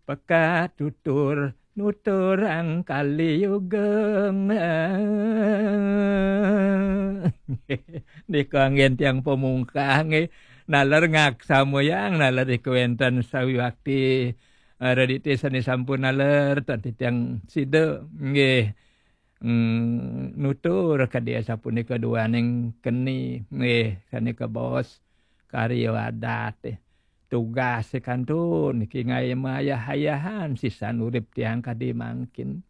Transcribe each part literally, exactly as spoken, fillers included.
Pekak tutur nuturang kali yuga. Nika anggen tiang pamungkah nggih. Naler ngaksamayang, naler nika wenten sawiakti, eh, redite sane sampun naler, tan titiang sida nggih. Mm, nutur kadi asapunika duaning keni nggih, sane kabaos karya adat, eh. Tugas kantun niki ngaye mayah-ayahan sisan urip tiang kadi mangkin.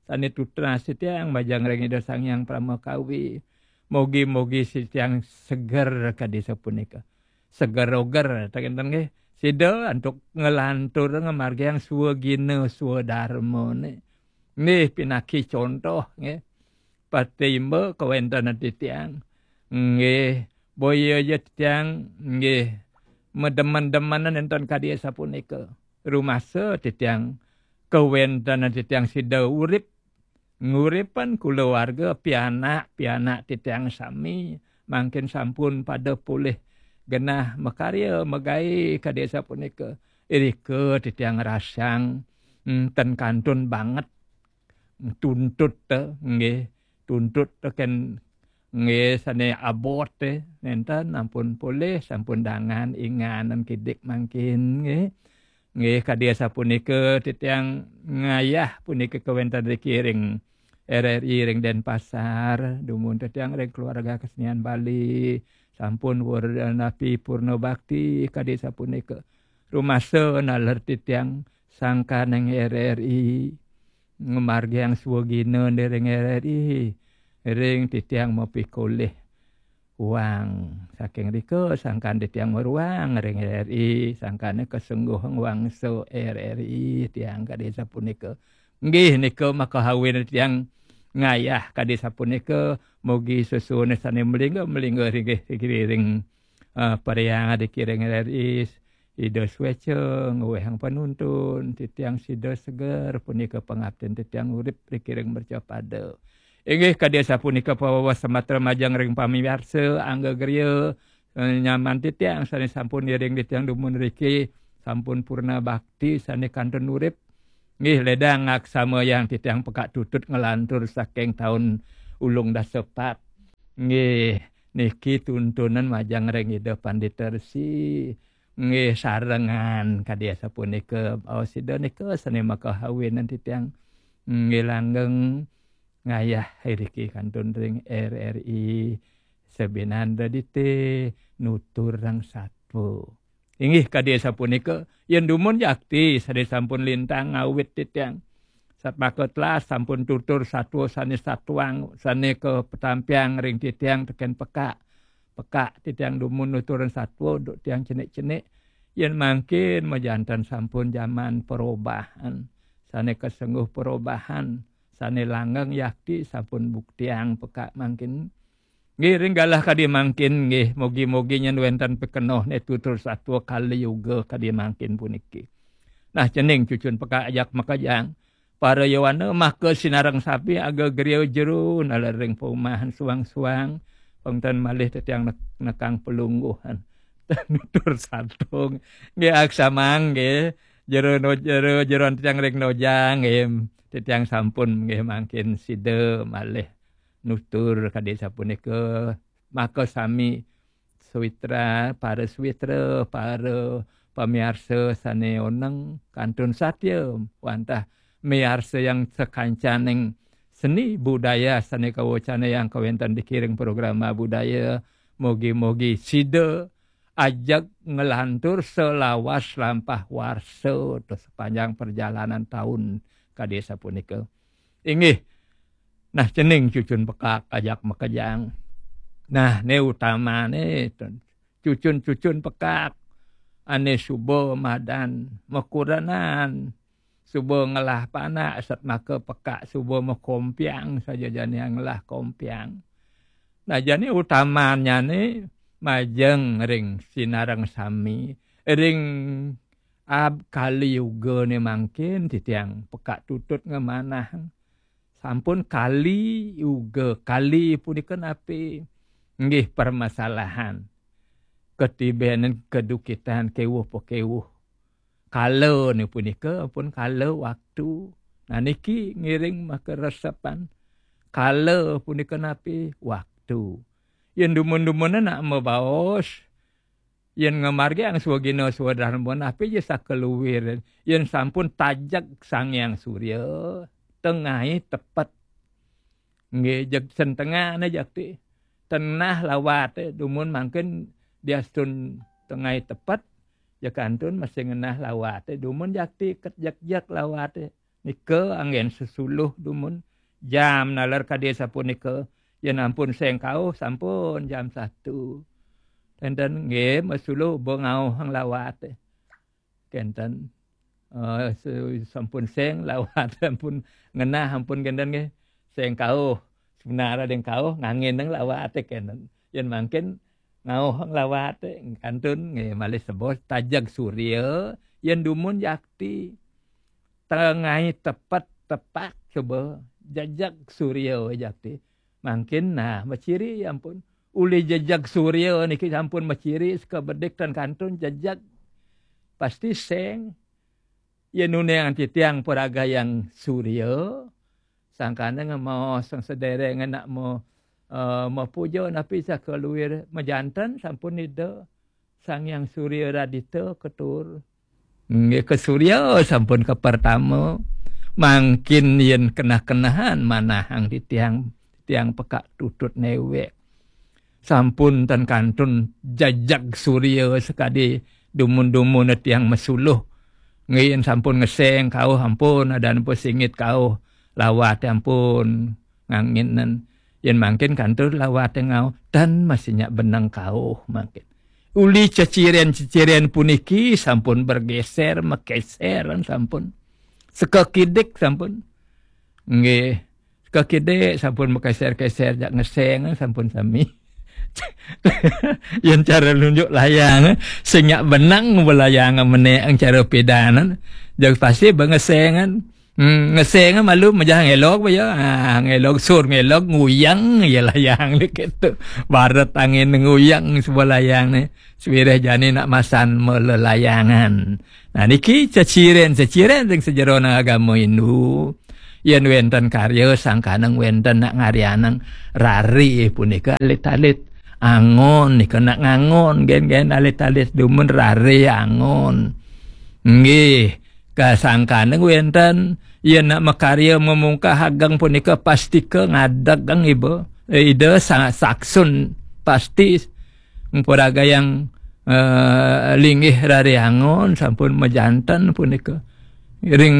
Sane tunas tiang majeng ring Ida Sang Hyang Pramakawi. Mogi-mogi si tiang seger kadi sapunika. Seger oger, ta kenten nggih. Sida antuk ngelantur ngamargiang swagina swadarmane. Nggih, pinaki contoh nggih. Patimba kawentenan titiang. Nggih, boya ja titiang nggih mademen-demenan enten kadi sapunika. Rumasa titiang kawentenan titiang sida urip nguripan kulawarga pianak-pianak titiang sami mangkin sampun pada polih genah makarya magae kadi sapunika. Irika titiang rasang, mm, ten kantun banget tuntut te, nggih, tuntut te ken nggih sane abot te nenten ampun polih sampun dangan inganan kidik mangkin nggih. Nggih, kadi asapunika titiang ngayah punika kawenten riki ring R R I ring Denpasar, dumun titiang ring keluarga kesenian Bali, sampun wur napi purna bakti kadi sapunika. Rumasa naler titiang sangkaning R R I ngamargiang swagina ring R R I ring titiang mapikolih uang. Saking rika sangkan titiang maruang ring R R I, sangkane kasengguh ngwangsa R R I tiang kadi sapunika. Nggih nika makahawin tiang ngayah kadi sapunika, mugi susune sane melingga-melingga ring, ring, eh, pariang dikiring R R I, Ida sueca ngwehang panuntun, titiang sida seger punika pangaptin titiang urip rikiring mercapada. Inggih kadi asapunika pawewas samatra majeng ring pamiarsa, angga griya, eh, nyaman titiang sane sampun iring titiang dumun riki, sampun purna bakti sane kantun urip. Nggih, ledang ngaksamayang titiang pekak tutut ngelantur saking taun ulung dasapat. Nggih, niki tuntunan majeng ring Ida Pandita Resi. Nggih, sarengan kadi asapunika, baos sida nika sane makahawinan titiang. Nggih, langgeng ngayah iriki kantun ring R R I Sebinanda dite nutur rang satwa. Inggih kadi asapunika, yen dumun jakti sane sampun lintang ngawit titiang. Satmaka telas sampun tutur satwa sane satuang, sane kapetampiang ring titiang teken pekak. Pekak titiang dumun nuturin satwa duk tiang cenik-cenik. Yen mangkin majanten sampun jaman perubahan, sane kasengguh perubahan, sane langgeng yakti sampun buktiang pekak mangkin. Nggih, ring galah kadi mangkin, nggih, mugi-mugi nyen wenten pikenoh ne tutur satwa kali yuga kadi mangkin puniki. Nah, cening cucun pekak ajak makejang. Para yowana maka sinareng sami aga griya jero naler ring paumahan suang-suang. Pengten malih tetiang nek-, nekang pelungguhan. Nutur satung. Nggih, aksamang, nggih. Jero no-, jero, jeroan titiang ring nojang, nggih. Titiang sampun, nggih, mangkin sida malih nutur kadi sapunika. Maka sami sawitra, para sawitra, para pamiarsa sane oneng kantun satya wantah miarsayang sakancaning seni budaya sane kawacanayang kawenten dikiring programa budaya. Mugi-mugi sida ajeg nglantur salawas lampah warsa to sepanjang perjalanan taun kadi sapunika. Inggih. Nah, cening cucun pekak ajak makejang. Nah, ne utamane cucun-cucun pekak ane suba madan makurenan, suba ngelah panak, satmaka pekak suba makompiang, saja jani ngelah kompiang. Nah, jani utamanyane majeng ring sinareng sami, ring ab kali yugane mangkin titiang pekak tutut ngemanah. Sampun kali yuga, kali punika napi? Nggih, permasalahan. Ketibenan kedukitan kewuh pakewuh. Kala ni punika ampun kala waktu. Nah, niki ngiring makaresepan. Kala punika napi? Waktu. Yen dumun-dumun nak mabaos, yen ngamargiang swagina swadarma, napi ja sakaluir. Yen sampun tajeg Sang Hyang Surya, tengai tepet. Nggih, jeg sentengahne jakti. Tenah lawate, dumun mangkin diastun tengai tepet, ja kantun masih ngenah lawate, dumun jakti ket jeg-jeg lawate. Nika anggen sesuluh dumun jam naler kadi sapunika. Yen ampun seng kauh, sampun jam satu. Kenten nggih, masuluh bengauh ang lawate. Kenten. Eh, su-, sampun seng lawat, ampun ngenah, ampun kenten nggih. Seng kauh. Sebenarnya deng kauh, ngangin deng lawate kenten. Yen mangkin ngauh lawate, kantun nggih, malih sebos tajeg surya, yen dumun jakti. Tengai tepet tepak coba, jejeg surya jakti. Mangkin nah, maciri ampun. Uli jejeg surya niki sampun maciri, sekabedik tan kantun jejeg. Pasti seng. Yen uning titiang paragayang surya, sangkana ngemaos sang sedereng nak mo, eh, mapuja napi sakaluir majanten sampun Ida Sang Hyang Surya Radita ketur. Nggih, ke surya sampun ke pertama. Mangkin yen kenah-kenahan manahang titiang, tiang pekak tutut newek. Sampun tan kantun jejeg surya sakadi dumun-dumun tiang masuluh. Nggih, yen sampun ngeseng kauh ampun, adan apa singit kauh, lawat ampun nganginen. Yen mangkin kantun lawat ngauh, tan masih nyak benang kauh mangkin. Uli ceciren-ceciren puniki sampun bergeser, makeseran sampun. Sekakidik sampun. Nggih. Sekakidik sampun makeser-keser jak ngeseng sampun sami. Yen cara nunjuk layang, sing nyak benang belayang menek cara pedanan. Jag pasti bengesengan. Hmm, ngeseng malu mejah ngelok ba ya. Ah, ngelok sur ngelok nguyang ya layang ni gitu. Barat angin nguyang sebuah layang ni. Sewireh jani nak masan melelayangan. Nah, niki ceciren-ceciren ring sejerone agama Hindu. Yen wenten karya sangkaneng wenten nak ngaryaneng rare punika alit-alit angon nika nak ngangon gen-gen alit-alit dumun rare angon. Nggih, kasangkaneng wenten yen nak makarya memungkah ageng punika pastika ngadeg iba. Eh, Ida sa-, saksun pasti mperagayang, eh, linggih rare angon sampun majanten punika. Ring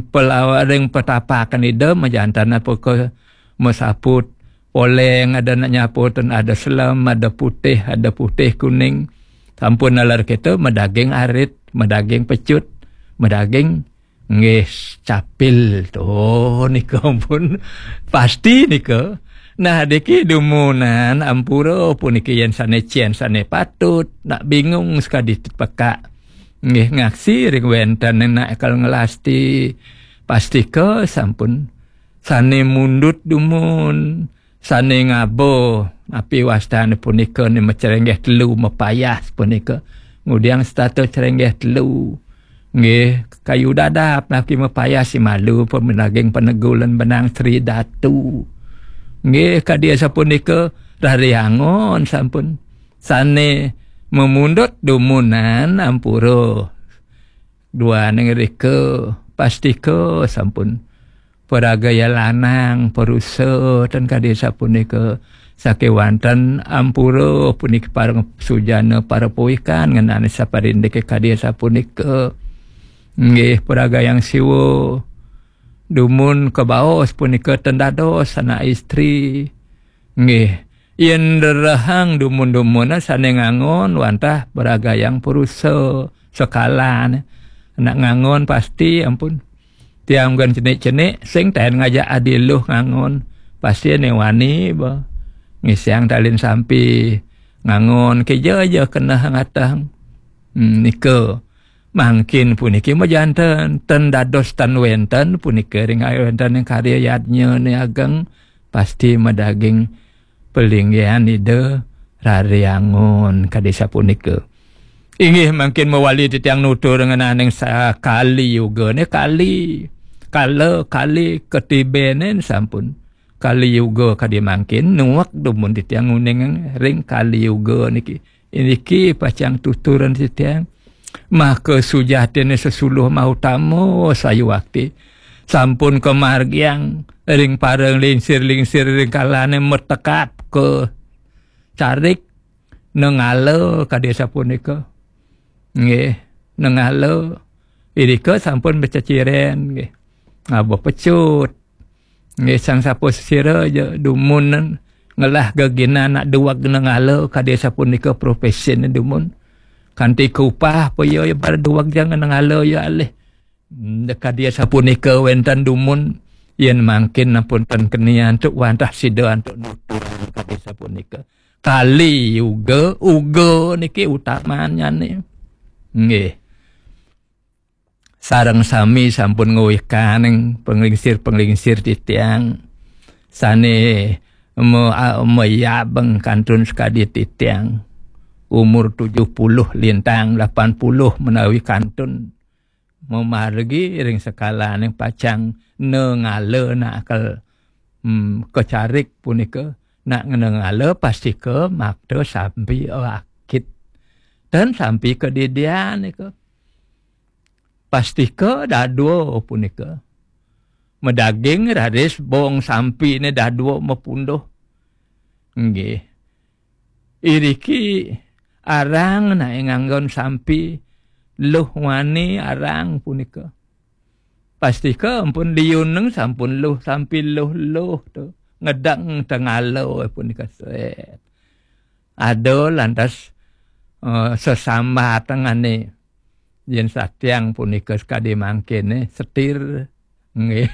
pelawa-, ring petapakan Ida majanten apa ke masaput poleng, ada nak nyaputan, ada selem, ada putih, ada putih kuning. Sampun nalar kita madaging arit, madaging pecut, madaging nggih capil to nika pun pasti nika. Nah, diki dumunan ampura puniki yen sane cien sane patut, nak bingung sekadi tepekak. Nggih ngaksi ring wenten nak kal ngelasti pastika sampun sane mundut dumun, sane ngaba, api wastane punika ni macerenggeh telu mapayas punika. Ngudiang setata cerenggeh telu. Nggih, kayu dadap naki mapayas si malu pemenaging penegulan benang Sri Datu. Nggih, kadi sapunika rariangon sampun. Sane memundut dumunan ampura. Duaning rika pastika sampun paragaya lanang, parusa, ten kadi sapunika. Sakewanten ampura puniki pareng sujana para pawikan ngenani saparindike kadi sapunika. Nggih, paragayang Siwa dumun kabaos punika ten dados anak istri. Nggih, yen rerehang dumun-dumun sane ngangon wantah paragayang purusa sekalan anak ngangon pasti ampun. Tiang bukan cenik-cenik, sing taen ngajak adi luh ngangon. Pasti ane wani ba. Ngisiang talin sampi ngangon keja aja kena ngatang. Hmm, nika. Mangkin puniki majanten, ten dados tan wenten punika ring wenten ing karya yadnya ni ageng, pasti madaging pelinggihan Ida rariangun kadi sapunika. Inggih mangkin mawali titiang nutur ngenaning sa-, Kali Yuga ne, kali. Kala, kali, katibenen sampun. Kali Yuga kadi mangkin nuwek dumun titiang nguning ring Kali Yuga niki. Niki pacang tuturan titiang. Maka sujatine sesuluh mautama sayuwakti. Sampun kamargiang ring pareng lingsir-lingsir ring kalane matekap ka carik nengala kadi sapunika. Nggih, nengala irika sampun bececiren nggih. Ngaba pecut. Nggih, sang sapasira ja dumun ngelah geginan nak duweg nengala kadi sapunika profesine dumun. Kanti kaupah apa ya, ya bar duweg ja nengala ya alih. Hmm, kadi sapunika wenten dumun, yen mangkin ampun ten keni antuk wantah sida antuk nuturang kadi sapunika. Kali Yuga, Uga niki utamannyane. Nggih. Sareng sami sampun ngawikaning panglingsir-panglingsir titiang sane me-, a-, mayabeng kantun sakadi titiang. Umur tujuh puluh lintang, lapan puluh menawi kantun. Mamargi ring sekalaning pacang nengala nak kel, hmm, kacarik punika. Nak nengala pastika makta sampi akit. Dan sampi kadidian nika. Pastika dadua punika. Madaging raris bong sampine dadua mapunduh. Nggih. Iriki arang nae nganggon sampi luh wani arang punika. Pastika ampun liuneng sampun luh sampi luh-luh tu. Ngedeng tengala punika set. Ada lantas, eh, sesambatengane yen satiang punika sekadi mangkene setir. Nggih.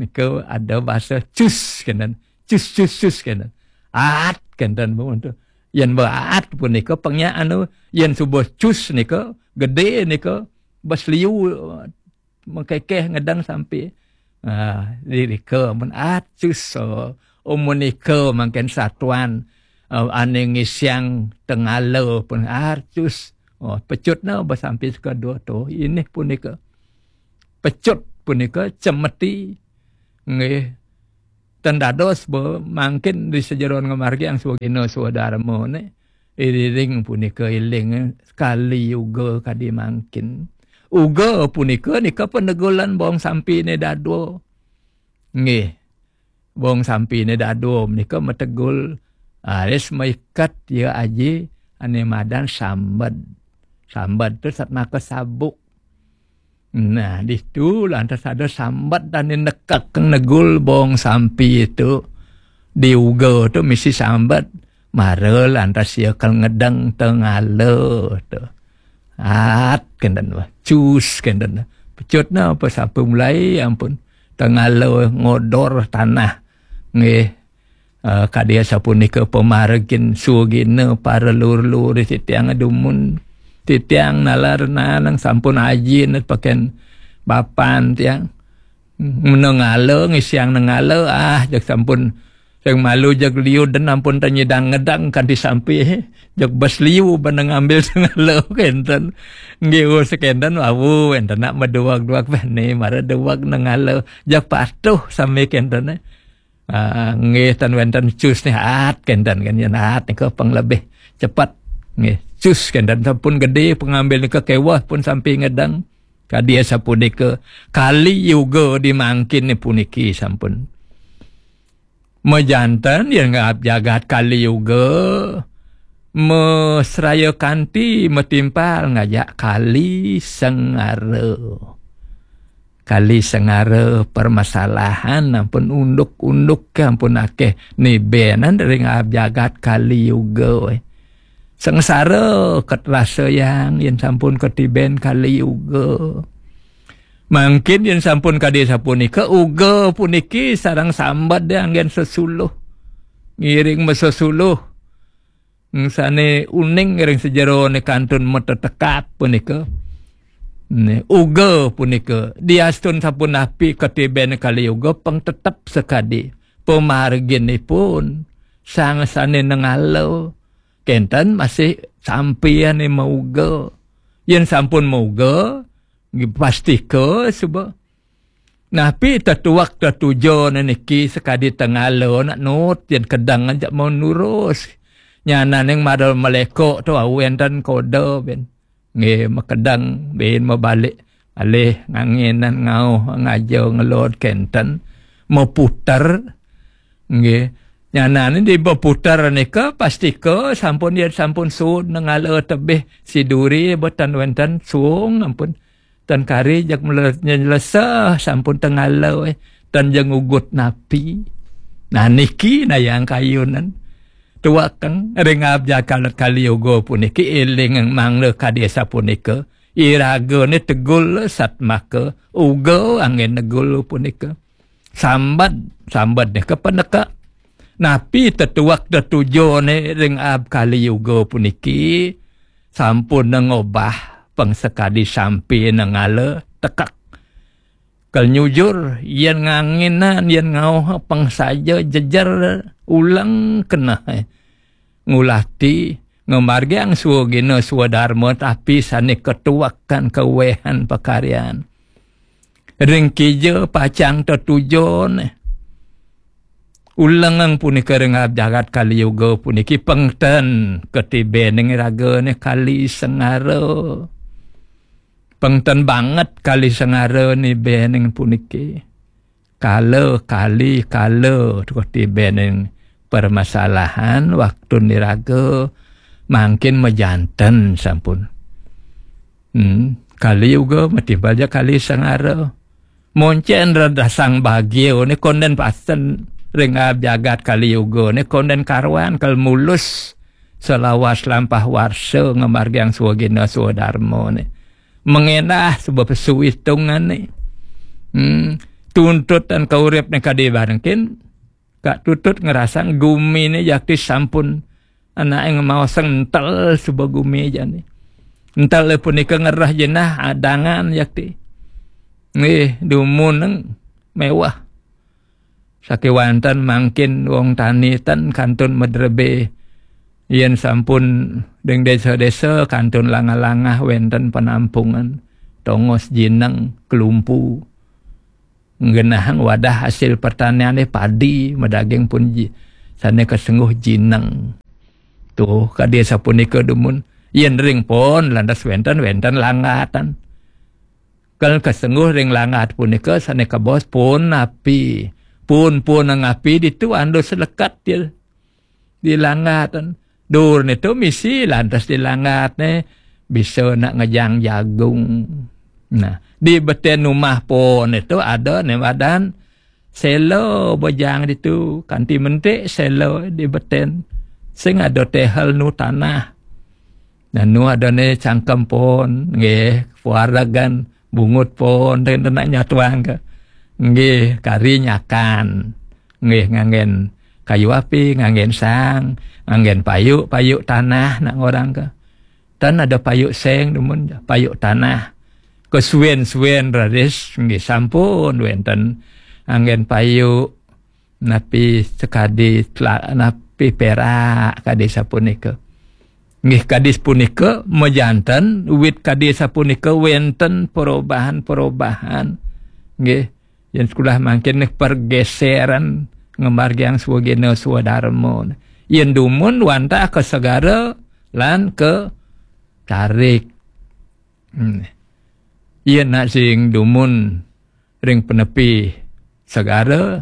Nika ada basa cus kenten. Cus, cus, cus kenten. At kenten pun tu. Yen baat punika pengnya anu, yen subuh cus nika, gede nika, bas liu, mengkekeh ngedang sampi. Ah, lirika mun at cus, oh, oh, menika mangken satuan, eh, ane ngisiang tengala pun at cus. Oh, pecutna bas sampi sekadua tu. Ini punika. Pecut punika cemeti. Nggih. Ten dados ba mangkin ri sajeroning ngamargiang swagina swadarmane. Iriring punika iling Kali Yuga kadi mangkin. Uga punika nika panegulan bong sampine dadua. Nggih. Bong sampine dadua menika mategul, ah, raris maiket ya aji ane madan sambed. Sambed tu satmaka sabuk. Nah, ditu lantas ada sambet dan nekek negul bong sampi itu. Di Uga tu misi sambet. Mara lantas ya kal ngedeng tengala tu. At kenten wah, cus kenten. Pecutna apa sampai mulai ampun. Tengala ngodor tanah. Nggih. Eh, kadi sapunika pamargin swagina para lur-lur titiang dumun. Titiang nalar nanang sampun ajin paken bapan tiang. Nengala, ngisiang nengala, ah, jak sampun sing malu jak liu den ampun tanyidang ngedang kanti sampi. Jak bas liu bana ngambil tengala kenten. Nggih, oh, sekenten, wawu, enten nak maduwag-duwag bane, mara duwag nengala. Jak patuh sami kenten, eh. Ah, nggih, tan wenten cus nih, at kenten kan, yen at nika pang lebih cepet. Nggih, cus kenten sampun gede pengambil nika kewah pun sampai ngedang. Kadi sapunika Kali Yuga di mangkin puniki sampun. Majanten yen ngap jagat Kali Yuga, mesraya kanti matimpal ngajak Kali Sengara. Kali Sengara permasalahan ampun unduk-unduk ke ampun akeh nibenan ring jagat Kali Yuga, weh. Sengsara ket rasa yang yen sampun ketiben Kali Yuga. Mangkin yen sampun kadi sapunika, Uga puniki sareng sambet de anggen sesuluh. Ngiring mesesuluh. Sane uning ring sajerone kantun matetekap punika. Ne, Uga punika diastun sapunapi katiben Kali Yuga pang tetep sakadi pamarginipun sang sane nengala, Kenten masih sampian mauga. Yen sampun mauga, pastika suba. Napi tetuek tetujon niki sakadi tengala nak nut yen kedeng aja mau nurus. Nyananing madal meleko tu awen tan koda ben. Nggih, makedeng bin mabalik alih nganginan ngauh ngaja ngelod kenten maputer. Nggih. Nyanan di maputer nika pastika sampun ya sampun sud nengala tebih siduri boten wenten suung ampun tan kari jak nyelesa sampun tengala eh tan jeng ugut napi. Nah niki nayang kayunan. Tuakeng ring abjad kalet kali yoga puniki eling mangda kadi sapunika. Iragane tegul satmaka uga angin negul punika. Sambat, sambat nika peneka. Napi tetuak tetujone ring ab kali yoga puniki sampun ngobah pengsekadi sampi nengala tekak. Kal nyujur, yen nganginan, yen ngauh pang saja jejer ulang keneh. Ngulati, ngemargiang swagina swadarma tapi sane ketuakan kewehan pakaryan. Ring kija pacang tetujon. Ulengang punika ring jagat kali yoga puniki pengten ketibening ragane kali sengara. Pengten banget kali sengara ni bening puniki. Kala kali kala tuh tibening permasalahan waktu niraga mangkin mejanten sampun. Hmm, kali yoga matimbal ja kali sengara. Moncen radasang bagio ni konden pasten ring ab jagat kali yoga ni konden karuan kal mulus selawas lampah warsa ngemargiang swagina swadarma ni. Mengenah sebab pesuitungane. Hmm, tuntutan kaurip ni kadi barengkin, kak tutut ngerasang gumi ni jakti sampun anake ngemaosang entel suba gumi jani. Entel punika ngerah jenah adangan jakti. Nggih, dumun neng mewah. Sakewanten mangkin wong tani ten kantun medrebe. Yen sampun ring desa-desa kantun langah-langah wenten penampungan, tongos jineng, kelumpu. Nggenahang wadah hasil pertaniane padi, medaging pun ji, sane kesengguh jineng. Tuh, kadi sapunika dumun. Yen ring pon lantas wenten, wenten langgatan. Kal kesengguh ring langgat punika sane kabos pun api. Pun-pun ngapi ditu andus lekat dia. Di langgatan. Dur nitu misi lantas di langgat ne bisa nak ngejang jagung. Nah, di beten rumah pon itu ada ne badan selo bejang ditu kanti mentik selo di beten. Sing ada tehel nu tanah. Nanu ada ne cangkem pon, nggih, puaragan, bungut pon, dan nak nyatuang ke. Nggih, kari nyakan. Nggih, nganggen kayu api, nganggen sang, nganggen payuk, payuk tanah nak ngorang ke. Tan ada payuk seng dumun, payuk tanah. Kesuwen-suwen raris, nggih, sampun wenten. Nganggen payuk, napi sekadi tela-, napi perak kadi sapunika. Nggih kadi sapunika mejanten wit kadi sapunika wenten perubahan-perubahan. Nggih, yen sekolah mangkin pergeseran ngemargiang swagina swadarma. Yen dumun wantah ke segara lan ke tarik. Hmm. Yen nak sing dumun ring penepi segara,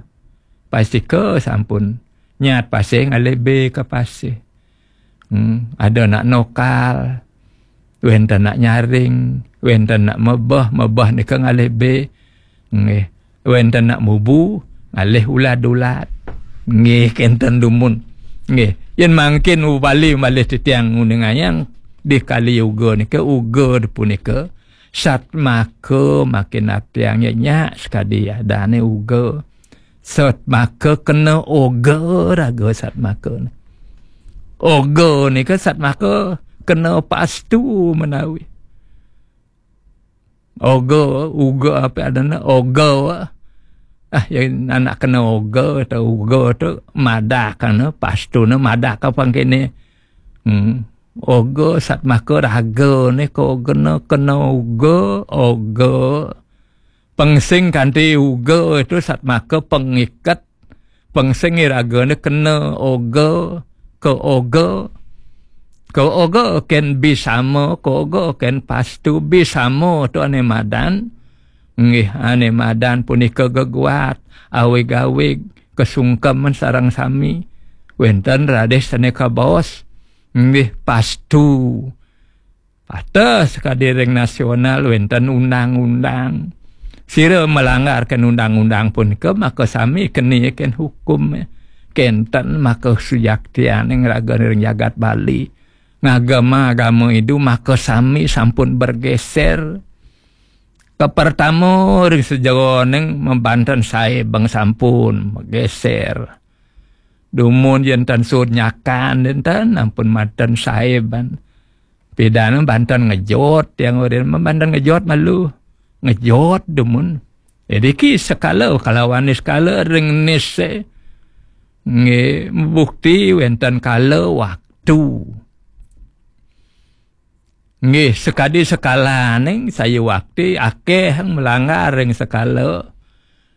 pastika sampun nyat pasih ngalih be ka pasih. Hmm, ada nak nokal, wenten nak nyaring, wenten nak mebeh, mebeh nika ngalih be. Nggih, wenten nak mubu, ngalih ulad-ulad. Nggih, kenten dumun. Nggih, yen mangkin upali malih titiang nguningayang di kali uga nika, uga punika satmaka makin apiang nyenyak sekadi adane uga. Satmaka kena oga raga satmaka. Oga nika satmaka kena pastu menawi. Oga, uga apa adana oga. Ah, ya anak kena oga atau uga tu madak kana pastu na madak apa kene Hmm. Oga satmaka raga ni ka ogana kena uga, oga. Pengsing kanti uga itu satmaka pengiket. Pengsing iraga ni kena oga, ka oga. Ka oga ken bisama, ka oga ken pastu bisama tu ane madan. Nggih, ane madan punika geguat, awig-awig, kesungkeman sareng sami. Wenten raris sane kabaos. Nggih, pastu. Pateh sakadi ring nasional wenten undang-undang. Sira melanggarkan undang-undang punika, maka sami keni ken hukum. Kenten maka sujaktianing raga ring jagat Bali. Ngagama agama Hindu, maka sami sampun bergeser. Kapertama ring sajeroning mabanten saibeng sampun mageser. Dumun yen tan sud nyakan, enten ampun madan saeban. Pidan banten ngejot, yang urin mabanten ngejot malu. Ngejot dumun. Jadi ki sekala kalawan niskala ring nise. Nggih, bukti wenten kala waktu. Nggih, sakadi sakalaning sayuwakti akeh melanggar ring sekala.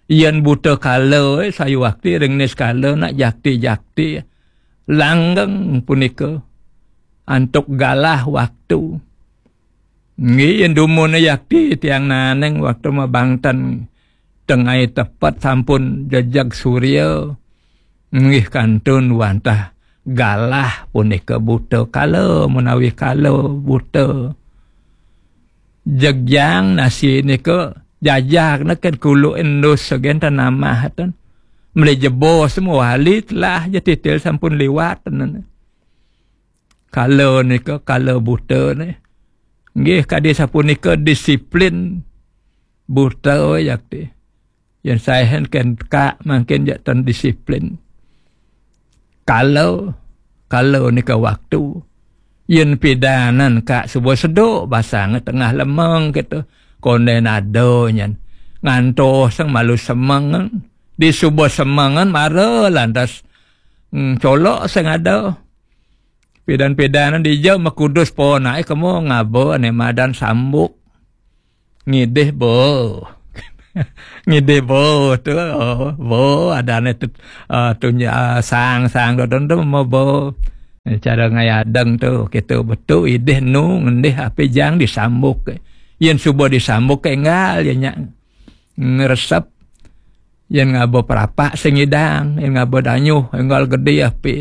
Yen buta kala, eh, sayuwakti ring niskala nak jakti-jakti. Langgeng punika antuk galah waktu. Nggih, yen dumune yakti tiang naneng waktu mabanten tengai tepet sampun jejeg surya. Nggih kantun wantah galah punika buta kala menawi kala buta. Jegjang nasi nika jajak neken kuluk endus segen tanamah ten. Meli jebos mewali telah je titil sampun liwat ten. Kala nika kala buta ni. Nggih kadi sapunika disiplin buta yakti. Yen saehen ken ka mangkin jak tan disiplin. Kala, kala nika waktu. Yen pidanan ka suba seduk basang tengah lemeng kita. Konden ada nyan. Ngantos sang malu semengan. Di suba semengan mara lantas, mm, colok sing ada. Pidan-pidanan dija makudus ponake kemo ngaba ane madan sambuk. Ngidih bo. Ngidih bo tu, oh, bo adane tu, ah, tunja, ah, sang, sang tu, tu, tu, mo bo. Cara ngayadeng tu, kita betu idih nu ngendih api jang disambuk. Yen suba disambuk enggal ya nyak ngresep. Yen ngaba prapak sing idang, yen ngaba danyuh, enggal gede api.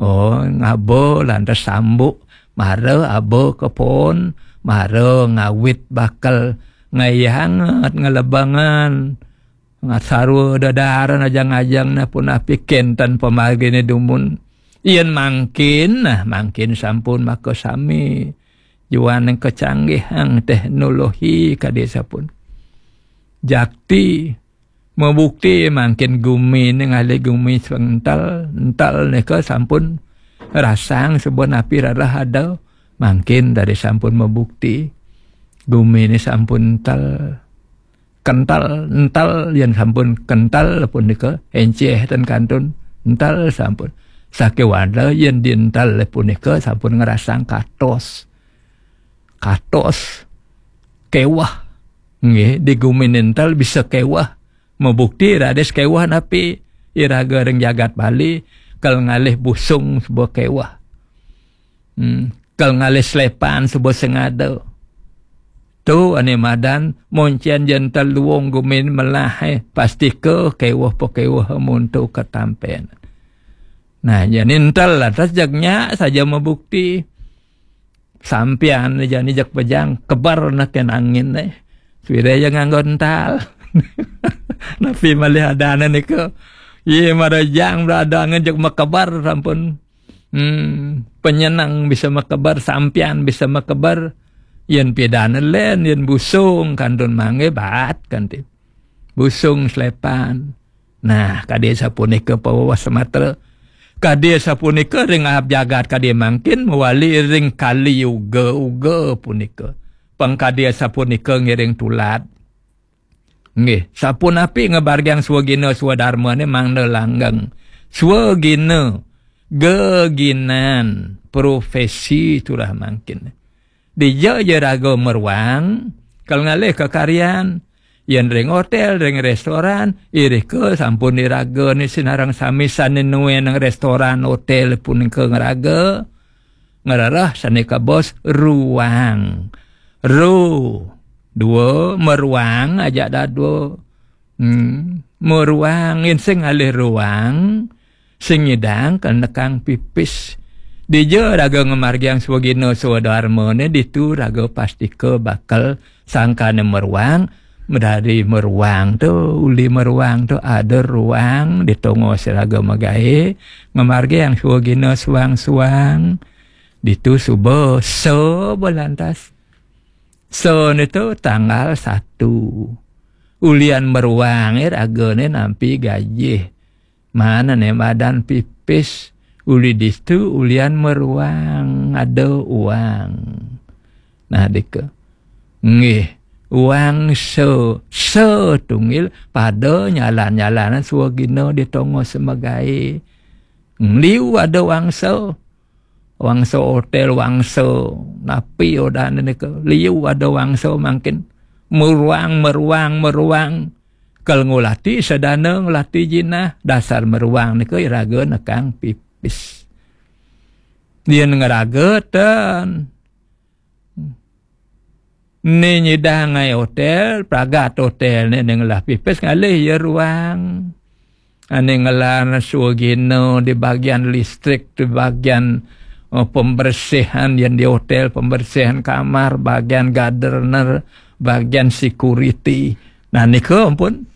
Oh, ngaba lantas sambuk, mara aba kepon, mara ngawit bakal ngayanget ngelebangan, ngasarwa dadaran ajang-ajang nah pun api kenten pamargine dumun. Yen mangkin, nah mangkin sampun maka sami. Juaning kecanggihang teknologi kadi sapun. Jakti mabukti mangkin gumi ni ngalih gumi sing entel, entel nika sampun rasang saben api rarah ada, mangkin dari sampun mabukti gumi ni sampun entel, kental, entel yen sampun kental punika enceh ten kantun entel sampun. Sakewala yen dientel punika sampun ngrasang katos. Katos kewah. Nggih, di gumi nentel bisa kewah. Mabukti raris kewah napi iraga ring jagat Bali kal ngalih busung suba kewah. Hmm, kal ngalih slepan suba sing ada. Tu ane madan moncen jentel luung gumin melah, eh, pastika kewah pakewah muntu katampen. Nah, jani entel atas jagnya saja mabukti. Sampian jani jak pejang kebar nak ken angin, eh. Suwire ja nganggo ental. Napi malih adane nika. Ye marejang berada angin jak makebar sampun. Hmm, penyenang bisa makebar, sampian bisa makebar. Yen pidane len, yen busung kantun mangge bat kanti. Busung slepan. Nah, kadi sapunika pawewas sematra. Kadi sapunika ring ahap jagat kadi mangkin mawali ring kali yuga uga punika. Pang kadi sapunika ngiring tulad. Nggih, sapunapi ngabargiang swagina swadarmane mangda langgeng. Swagina geginan, profesi, itulah mangkin. Dija ja raga maruang, kal ngalih kakaryan, yén ring hotél, ring restoran, irika sampun iraga né sinareng sami sané nuénang restoran, hotél punika ngraga, ngrereh sané kabaos ruang. Ru, dua, maruang ajak dadua. Hmm, maruang, yén sing ngalih ruang, sing nyidang kal nekang pipis. Dija raga ngamargiang swagina swadarmané, ditu raga pastika bakal sangkané maruang, madadi maruang tu, uli maruang tu ada ruang di tongos raga magaé, ngamargiang swagina suang-suang, ditu suba sa balantas. Sa nitu tanggal satu. Ulian maruang ragané nampi gajih. Manané madan pipis, uli ditu ulian maruang ada uang. Nah, dika. Nggih, uang sa, sa tunggil pada nyalan-nyalanan swagina di tongos magaé. Liu ada uang sa. Wangsa hotél, wangsa napi odané nika. Liu ada wangsa mangkin. Maruang, maruang, maruang. Kal ngulati sadana, ngulati jinah, dasar maruang nika iraga nekang pipis. Yén ngraga ten. Né nyidang ngaé hotél, pragat hotélné né ngelah pipis, ngalih ya ruang. Ané ngelah swagina di bagian listrik, di bagian, eh, pembersihan, yén di hotél, pembersihan kamar, bagian gardener, bagian security. Nah, nika ampun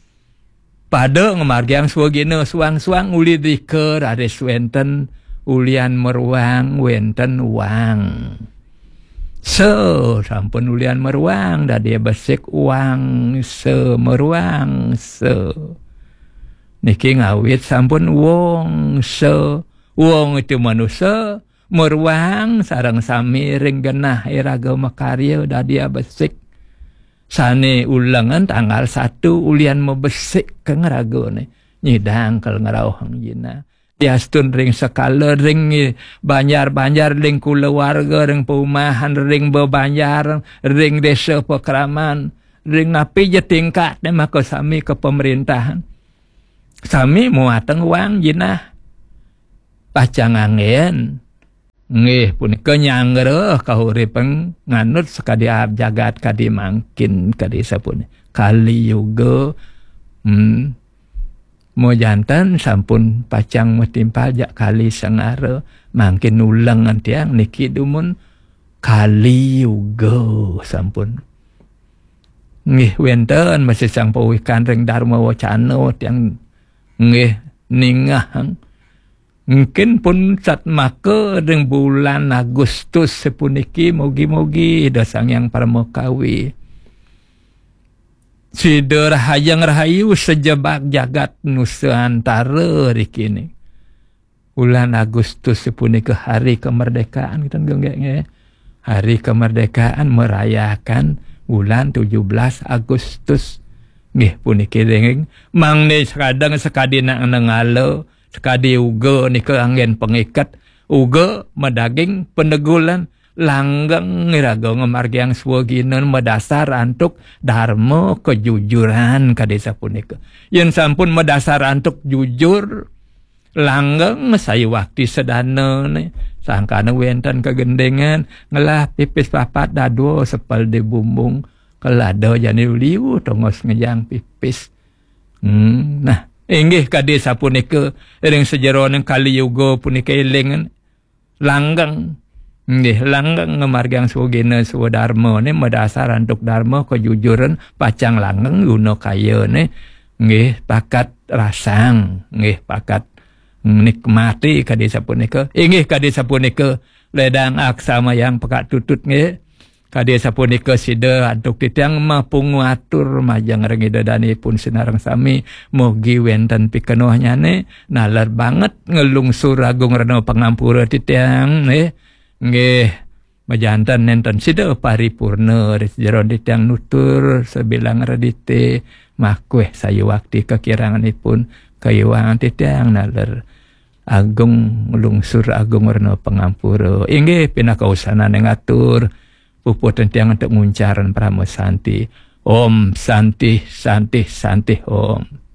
pada ngamargiang swagina suang-suang, uli dika raris wénten ulian maruang, wénten uang. Sa, sampun ulian maruang, dadi besik uang, sa, maruang, sa. Niki ngawit sampun wong, sa. Wong itu manusa, maruang sareng sami ring genah iraga makarya dadi abesik. Sané ulengan tanggal satu ulian mabesik ka ngragané. Nyidang kal ngrauhang jinah. Diastun ring sekala, ring banjar-banjar, ring kulawarga, ring paumahan, ring bebanjar, ring désa pakraman, ring napi ja tingkat né maka sami ka pemerintahan. Sami muatang uang jinah. Pacang anggén. Nggih, punika nyanggra kahuripan nganut sakadi aab jagat kadi mangkin, kadi sapunika. Kali Yuga, hmm, majanten sampun pacang matimpal jak Kali Sengara, mangkin ulengan tiang niki dumun Kali Yuga sampun. Nggih, wénten masih sang pawikan ring Dharma Wacana tiang nggih ningehang. Mungkin pun satmaka ring bulan Agustus sapuniki, mugi-mugi Ida Sang Hyang Paramakawi. Sida rahajeng rahayu sajebag jagat Nusantara rikini. Bulan Agustus sapunika hari kemerdekaan, kita nggih, nggih. Hari kemerdekaan merayakan bulan tujuh belas Agustus. Nggih, puniki ring mangda sakadang sakadi nak nengala, sakadi uga nika anggén pangiket, uga madaging panegulan, langgeng iraga ngamargiang swagina madasar antuk dharma kejujuran kadi sapunika. Yén sampun madasar antuk jujur, langgeng sayuwakti sadanané, sangkana wénten kagendingan, ngelah pipis papat dadua sepel di bumbung, kal ada jani liu tongos ngejang pipis. Hmm, nah, inggih kadi sapunika ring sajeroning Kali Yuga punika éling langgeng. Nggih, langgeng ngamargiang swagina swadarmané madasar antuk dharma kejujuran, pacang langgeng guna kayané. Nggih, pakat rasang, nggih, pakat nikmati kadi sapunika. Inggih kadi sapunika, ledang aksamayang pakat tutut nggih. Kadi sapunika sida antuk titiang mapungu atur majeng ring Ida Dane pun sinareng sami, mugi wénten pikenohnyané, naler banget nglungsur agung rena pangampura titiang, nggih. Nggih, majanten nénten sida paripurna ri sajeroning titiang nutur sabilang redité, makuih sayuwakti kakiranganipun kaiwangan titiang naler Agung Lungsur Agung Rena Pangampura. Inggih pinaka usanane ngatur puputeng tiang antuk nguncarang Parama Santi. Om Santi, Santi, Santi, Om.